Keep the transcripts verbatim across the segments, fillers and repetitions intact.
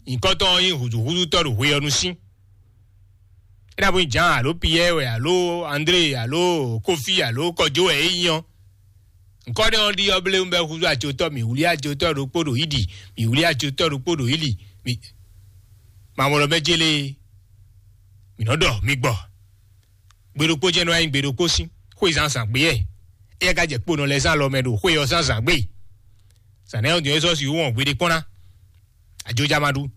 Nyǐkɔ tɔn ɔ́ nyí hǔzúhúzútɔ́ ɖo hwe ɔ́ nu sín. É ná bó nyí Jǎan alo Piyɛ́ɛ wɛ alo André alo Kófí alo Kɔjó wɛ é nyí ɔ́, nyǐkɔ nɛ́ ɔ́ ɖi ɔ́ bléwún bɔ é húzú acotɔ́, mǐ wlí acotɔ́ ɖokpó ɖo Ídi, mǐ wlí acotɔ́ ɖokpó ɖo Íli, mǐ mamɔlɔ mɛ jélé, mǐ nɔ ɖɔ mi gbɔ. Gbe ɖokpó jɛ́n nɔ wá nyí gbe ɖokpó sín xwé zǎnzǎn gbé wɛ. Éyɛ́ ka jɛ kponɔ lɛ́ɛ zán alɔ mɛ ɖo xwé ɔ́ zán zǎn gbé. Zǎn nɛ́ ɔ́ din ɔ́ é sɔ́ sixú wɔn gbeɖé kpɔ́n ná. Ajoja ma ɖu.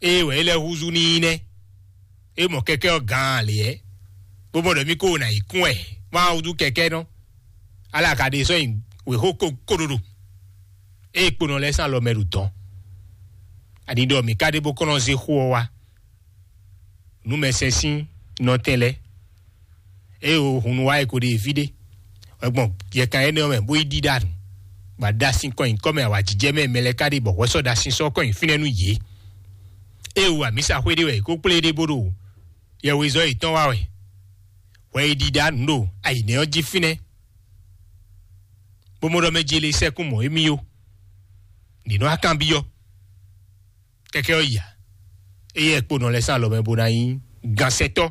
Ée wɛ é lɛ́ húzú n'i nɛ́. É mɔ kɛkɛ́ ɔ́ gaan lě ɛ, bó mɔ ɖɔ mí ko ná yi kún wɛ má wúdú kɛkɛ́ nɔ. Ala ka ɖe sɔ́ nyi wěxó ko kóɖoɖo. Ée kponɔ lɛ́ɛ sín alɔ mɛ ɖo dɔ̌n. Ani ɖɔ mǐ ka ɖe bó kɔn nɔ zé xó ɔ́ wá. Nǔmɛsɛn sín nɔtɛn lɛ́ɛ. Ée o hun nu wá e ko ɖe fí ɖé, wɛ gbɔn yɛkan énɛ́ ɔ́ mɛ bó yi ɖíɖá nǔ, bɔ aɖasin kɔn nyi kɔ́ mɛ awǎjijɛ mɛ mɛ lɛ́ɛ ka ɖe bɔ hwɛ sɔ́ ɖasin sɔ́ kɔn nyi fínɛ́ nú yě. Ée o amǐsa xwé ɖé wɛ è ko kplé ɖé bó ɖo yɛwezɔ́ yětɔn wá wɛ, hwɛ yi ɖíɖá nǔ ɖo ayǐnɛ́ ɔ́ jí fínɛ́, bó mɔ ɖɔ mɛ jele sɛkún mɔ̌ émí ó. Nǐ nɔ akanbyɔ́. Kɛkɛ ɔ́ ya, éyɛ́ kpo nɔ lɛ́ sín alɔ mɛ bó ná nyí gansɛtɔ́.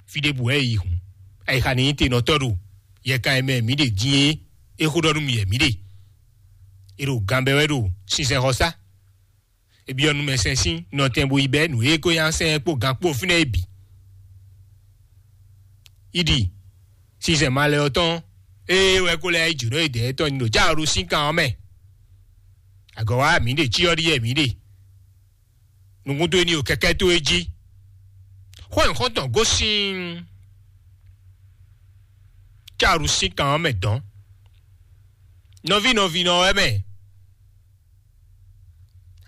Fí ɖěbǔ wɛ é yi hǔn, ayixa ní nyí tenɔtɔ́ ɖo yɛkan e mɛ mǐ ɖe din é. É xó ɖɔ nú mì wɛ mǐ ɖe. É ɖo ganbɛ wɛ ɖo sinsɛnxɔsá. É byɔ́ nú mɛ sɛn sín nɔtɛn bó yi bɛ́ nǔ e é ko nyá sɛn ɛ kpó gan kpó fínɛ́ é bǐ. Yi ɖi sinsɛn malɛ ɔ́ tɔn, ée wɛ ko lɛ́ yi jǒnɔ e dɛ̌ tɔn nyi ɖo cáro sín kan ɔ́ mɛ. Agɔ̌ wá mǐ ɖe cyɔ ɖíe mǐ ɖe. Nukún towe ní o kɛkɛ́ towe jí. Xó nyǐxɔ́ntɔn gosín cáru sín kan ɔ́ mɛ dɔ̌n. Nɔví nɔví nɔ wɛ mɛ.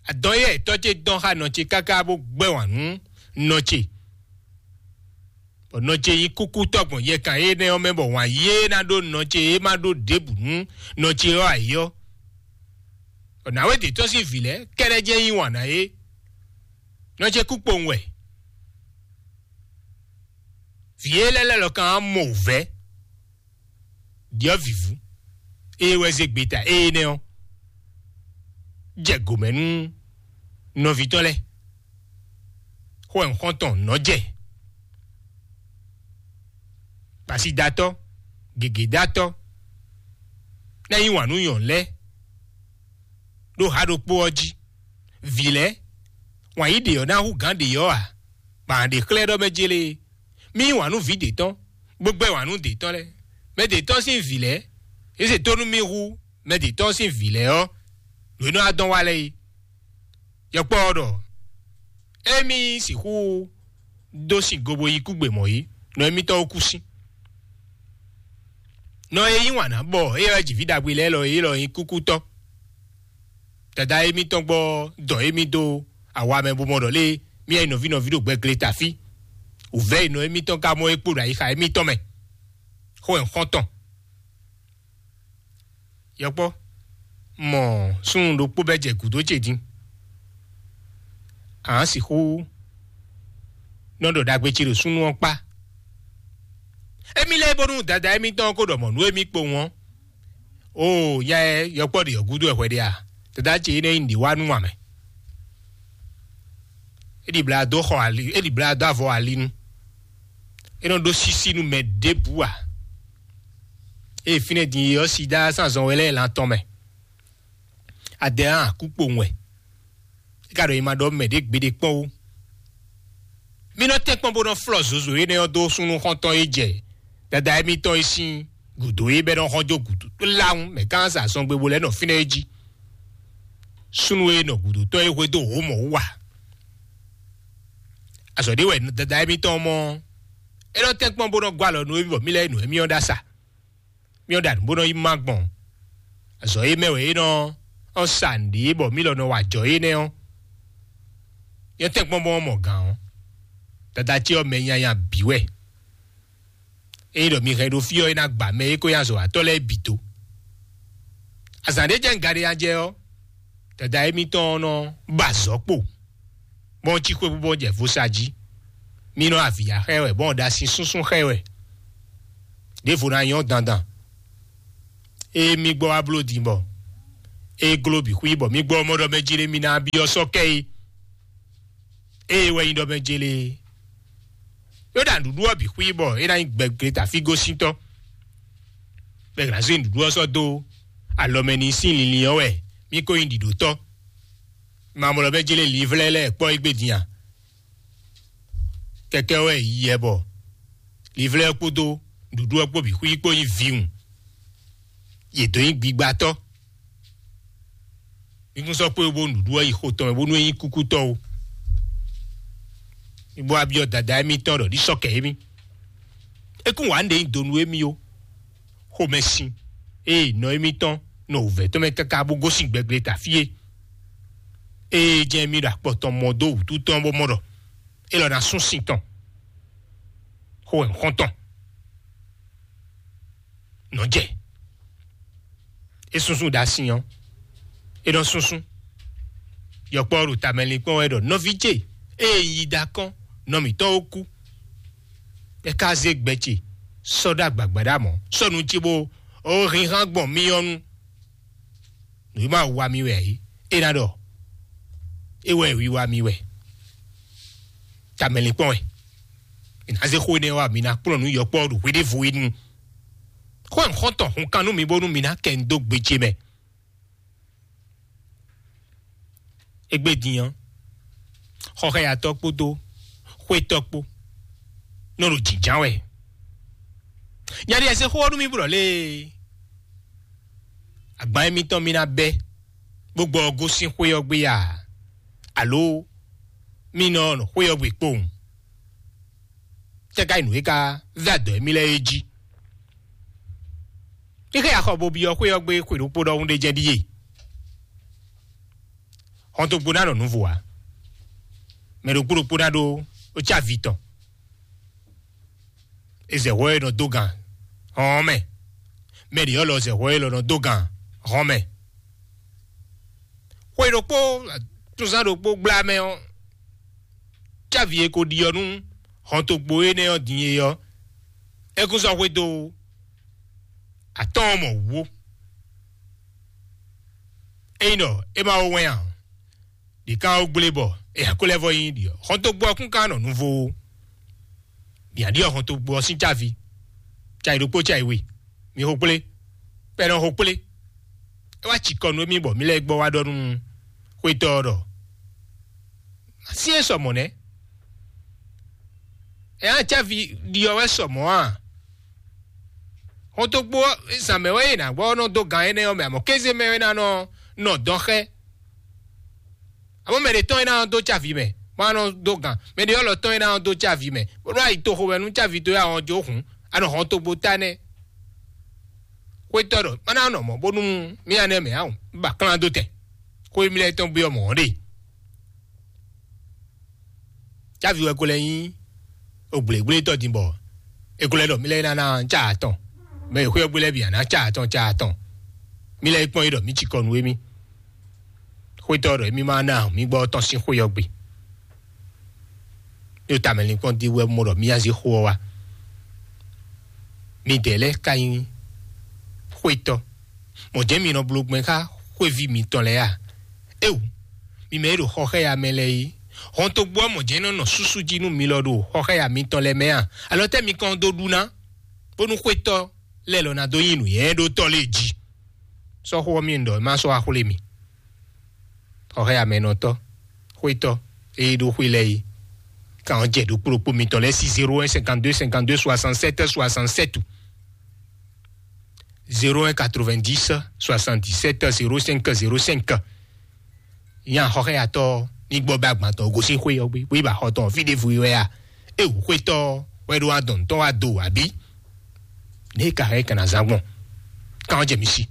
Adɔn yɛ tɔ́ ce dɔn xá nɔ ce káká bó gbɛ́ wǎn nú nɔ ce. Bɔ nɔ ce nyí kúkútɔ́ gbɔn yɛkan énɛ́ ɔ́ mɛ, bɔ wǎn yí e ná ɖó nɔ ce é má ɖó ɖěbǔ nú nɔ ce ɔ́ ayǐ ɔ́. Bɔ nǎwe ɖě tɔ́ sín vǐ lɛ́ɛ kɛ́ɖɛ́ jɛ́n yí wǎn ná é. Nɔ ce kú kpowun wɛ. Vǐ e lɛ́ lɛ́ lɔ kan á mɔ wǔvɛ́. Ɖyɔ̌vǐvú, ée wɛ zé gbeta énɛ́ ɔ́, jɛ gǒmɛ nú nɔví tɔn lɛ́ɛ. Xó wɛ un xɔ́n tɔn nɔ́ jɛ. Kpasidatɔ́, gěgédatɔ́, ná yí wǎn nú nyɔ̌nu lɛ́ɛ ɖó ha ɖokpó ɔ́ jí. Vǐ lɛ́ɛ, wǎn yí ɖě ɔ́ ná hú gǎn ɖě ɔ́ ǎ, bɔ a nǎ ɖe xlɛ́ ɖɔ mɛ jélé. Mí yí wǎn nú vǐ ɖě tɔn, bó gbɛ́ wǎn nú ɖě tɔn lɛ́ɛ. Mɛ ɖě tɔn sín vǐ lɛ́ɛ, é se tónú mì hú mɛ ɖě tɔn sín vǐ lɛ́ɛ ɔ́, nǔ e nɔ wá dɔn wá lɛ́ɛ é. Yɔkpɔ́ ɔ́ ɖɔ émí sixú dó sin go bo yi kúgbe mɔ̌ é, nɔ émítɔn ó kú sín. Nɔ e yí wǎn ná bɔ é wɛ jǐví ɖagbe lɛ́ɛ lɔ é lɔ nyí kúkútɔ́. Dada émítɔn gbɔ dɔn émí dó awa mɛ bó mɔ ɖɔ lé mía yi nɔví nɔví ɖo gbɛgle tafí. Wǔvɛ́ yi nɔ émítɔn ka mɔ é kpo ɖo ayixa émítɔn mɛ. Xó wɛ un xɔ́n tɔn. Yɔkpɔ́, mɔ súnnu ɖokpó bɛ́ jɛ gǔdo ce din. A nǎ sixú nɔ ɖɔ ɖagbe ce ɖo súnnu ɔ́ kpá. Émí lɛ́ɛ bónú dada émítɔn ɔ́ ko ɖɔ mɔ̌ nú émí kpowun ɔ́. Oo, nya ɛ yɔkpɔ́ ɖe ɔ́ gúdo wɛ hwɛ ɖe a? Dada ce énɛ́ nyí nǔɖé wá nú ǎ mɛ. É ɖi blá dó xɔ ali, é ɖi blá dó avɔ ali nu. É nɔ ɖó sísí nú mɛ ɖěbǔ ǎ. Ée fínɛ́ din é ɔ́, sida sín azɔn wɛ lɛ́ɛ lan tɔn mɛ. Adɛ hán kú kpowun wɛ. É ka ɖɔ nyi ma ɖɔ mɛ ɖě gbeɖé kpɔ́n ó. Mí nɔ tɛ́nkpɔ́n bó nɔ flɔ́ zozo énɛ́ ɔ́ dó súnnu xɔ́ntɔn e jɛ dada émítɔn e sín gǔdo é bɛ́ nɔ xɔ́n jó gǔdo lawun mɛ gán sa zɔngbe bo lɛ́ nɔ fínɛ́ é jí. Súnnu e nɔ gǔdo tɔn é hwedó wǒ mɔ wú a? Azɔ̌ ɖé wɛ dada émítɔn mɔ. É nɔ tɛ́nkpɔ́n bó nɔ gɔ́ alɔ nú émí bɔ mí lɛ́ nǔ émí ɔ́ ɖó asa. Mí ɔ́ ɖa nǔ bó nɔ yi má gbɔn. Azɔ̌ e mɛ wɛ é nɔ ɔ́ sa nǔɖé bɔ mí lɔ nɔ wa ajɔ énɛ́ ɔ́. Yɔ́ntɛn gbɔn bɔ mɔ gǎn ɔ́, dada ce ɔ́ mɛ nyanya bǐ wɛ. Ényí ɖɔ mi hɛn ɖo fí ɔ́, é ná gba mɛ e ko nyi azɔ̌watɔ́ lɛ́ɛ bǐ dó. Azǎn ɖé jɛ ŋga ɖé nya jɛ ɔ́, dada émítɔn ɔ́ nɔ ba azɔ̌ kpo, bɔ cí xwé bó bɔ jɛ vo sa jí. Mí nɔ avǐ ya xɛ wɛ, bɔ ɖo asi súnsún xɛ wɛ. Ɖěvo ná nyɔ́ dandan. Ée mí gbɔ wá bló din bɔ É gló bǐ xwí bɔ mí gbɔ mɔ ɖɔ mɛ jí lé mi ná byɔ́ sɔ́ kɛ é. Ée wɛ nyí ɖɔ mɛ jí lé. Yó ɖa nǔɖuɖu ɔ́ bǐ xwí bɔ é ná nyí gbɛgbléta fí gosíntɔ́. Bɛ ná zé nǔɖuɖu ɔ́ sɔ́ dó alɔ mɛ ní sín linlin ɔ́ wɛ mí ko nyí ɖiɖǒtɔ́. Mamɔlɔ bɛ jélé livrɛ lɛ́ɛ kpɔ́ égbé din a? Kɛkɛ wɛ yi yɛ bɔ livrɛ ɔ́ kpódó nǔɖuɖu ɔ́ kpó bǐ xwí kpó nyí vǐwun. Yě dó nyí gbigbatɔ́. Mí kún sɔ́ kpé bó nǔɖuɖu ɔ́ yi xo tɔn mɛ bónú é nyí kúkútɔ́ ó. Mí bó wá byɔ́ dada émítɔn ɖɔ ní sɔ́ kɛ émí. É kún wǎ nɖe nyi do nú émí ó. Xomɛsin ée nɔ émítɔn nɔ wǔvɛ́ tɔn mɛ káká bó gosín gbɛgbléta fí é. Ée jɛ́n mí ɖo akpɔ tɔn mɔ dó wǔtu tɔn bó mɔ ɖɔ é lɔ ná sún sin tɔn. Xó wɛ un xɔ́n tɔn. Nɔ́ jɛ. É súnsún ɖo asin ɔ́. É nɔ súnsún. Yɔkpɔ́ ɖo tamɛlinkpɔ́n wɛ ɖɔ nɔví ce ée yi da kɔn nɔ mǐtɔn ó kú. É ka zé gbɛ ce sɔ́ ɖó agbǎgbá ɖo amɔ̌ sɔ́ nu ce bó ó hínhán gbɔn mí ɔ́ nu. Nǔ e ma wa mi wɛ é, é ná ɖɔ é wɛ wiwa mi wɛ. Tamɛlinkpɔ́n wɛ. È nǎ zé xó énɛ́ wá mi ná kplɔ́n nǔ yɔkpɔ́ ɖo hweɖěvo é nu. Xó ɛ xɔ́ntɔn hun kan nú mi bónú mi ná kɛ nu dó gbe ce mɛ. Égbé din ɔ́, xɔxɛyatɔ́ kpódó xwétɔ́ kpó nɔ ɖo jǐnján wɛ. Nya ɖi ɛsɛ xó ɔ́ nú mì blɔ lée. Agban émítɔn mì ná bɛ́ bó gbɔ ɔ́ gosín xwé ɔ́ gbé a? Alo mì nɔ nɔ xwé ɔ́ gbe kpowun? Tɛ́ ka nyí nǔ e ka vɛ́ adɔ̌ émí lɛ́ɛ é jí? Xixɛ axɔ bo byɔ́ xwé ɔ́ gbé xwe ɖokpó ɖɔhun ɖé jɛ ɖíe. Xɔntogbo ná nɔ nǔvo ǎ. Mɛ ɖokpó ɖokpó ná ɖó ó cí avi tɔn. È zɛ hwɛ e nɔ dó gǎn hɔn ɔ́ mɛ. Mɛ ɖě ɔ́ lɔ zɛ hwɛ e lɔ nɔ dó gǎn hɔn mɛ. Xwe ɖokpó túnzán ɖokpó gbla mɛ ɔ́, cávi e ko ɖiɔ nú hɔntogbo énɛ́ ɔ́ din é ɔ́, é kún sɔ́ xwedó atɔ́ɔ́n mɔ wǔwo. Ényí ɖɔ é ma wó wɛn ǎ, ɖě ká wó gblé bɔ é ko lɛ́ vɔ nyí ɖiɔ hɔntogbo ɔ́ kún ka nɔ nuvo ó. Mǐ ɖiɔ hɔntogbo ɔ́ sín cávi, cayi ɖokpó cayi we, mi xo kplé, bɔ è nɔ xo kplé. É wá cikɔ nú émí bɔ mǐ lɛ́ gbɔ wá ɖɔ nú xwétɔ́ ɔ́ ɖɔ: "Syɛ́n sɔ mɔ̌ nɛ́? Ɛ á cávi ɖiɔ wɛ sɔ mɔ̌ a? Xɔntogbo ɔ́, zǎn mɛ wɛ è nǎ gbɔ nɔ dó gǎn énɛ́ ɔ́ mɛ, amɔ̌ kéze mɛ wɛ ná nɔ nɔ dɔn xɛ. Amɔ̌ mɛ ɖě tɔn é ná nɔ dó cávi mɛ, bó ná nɔ dó gǎn. Mɛ ɖě ɔ́ lɔ tɔn é ná nɔ dó cávi mɛ, bó nɔ ayi toxo wɛ nú cávi towe ahɔn jó hǔn, a nɔ hɔn togbo ta nɛ́." Xwétɔ́ ɖɔ: "Má ná nɔ mɔ̌ bónú mì nya nɛ́ mɛ ǎ, un ba klán dó tɛn. Xó e mì lɛ́ tɔn gbé ɔ́ mɔ̌ ɔ́ ɖe." Cávi wɛ ko lɛ́ nyí ogblégblétɔ́ din bɔ è ko lɛ́ ɖɔ mì lɛ́ ná ná cá atɔn, mɛ e xwé ɔ́ gbé lɛ́ɛ bǐ ná ná cá atɔn cá atɔn. Mì lɛ́ yi kpɔ́n é ɖɔ mǐ cikɔ nú émí. Xwétɔ́ ɖɔ émí ma ná mǐ gbɔ tɔn sín xwé ɔ́ gbe. Ɖo tamɛlinkpɔ́n din wɛ mɔ ɖɔ mì nya zé xó ɔ́ wá. Midɛɛ lɛ́ɛ ka nyí xwétɔ́. Mɔ̌ jɛ́n mi nɔ bló gbɛn xá xwéví mitɔn lɛ́ɛ a? Éwu, mi mɛ e ɖo xɔxɛ́ya mɛ lɛ́ɛ é, hɔntogbó ɔ́ mɔ̌ jɛ́n nɔ nɔ súsú jí nú mi lɔ ɖo xɔxɛ́ya mitɔn lɛ́ɛ mɛ a? Alɔ tɛ́ mi kɔn dó ɖu ná, bónú xwétɔ́ lɛ́ɛ lɔ ná dó nyi nǔnywɛ́ɖótɔ́ lɛ́ɛ jí? Sɔ́ xó ɔ́ mì ɖɔ má sɔ́ wá xwlé mi. Xɔxɛ́ya mɛ nɔ tɔ́, xwétɔ́, ée ɖó xwé lɛ́ɛ é, kan ɔ́ jɛ ɖokpó ɖokpó mitɔn lɛ́ɛ sí zéro un cinquante deux cinquante deux soixante sept soixante sept. Zéro un quatre-vingt-dix soixante-dix-sept zéro cinq zéro cinq. Nya xɔxɛ́yatɔ́ ní gbɔ bɛ agbantɔ gosín xwé ɔ́ gbé, bó yi ba xɔ tɔn fí ɖěvo wɛ a? É wǔ xwétɔ́ wɛ ɖó adɔn tɔn wá do abǐ? Nɛ̌ ka hɛn kana zán gbɔn? Kan ɔ́ jɛ mi sí.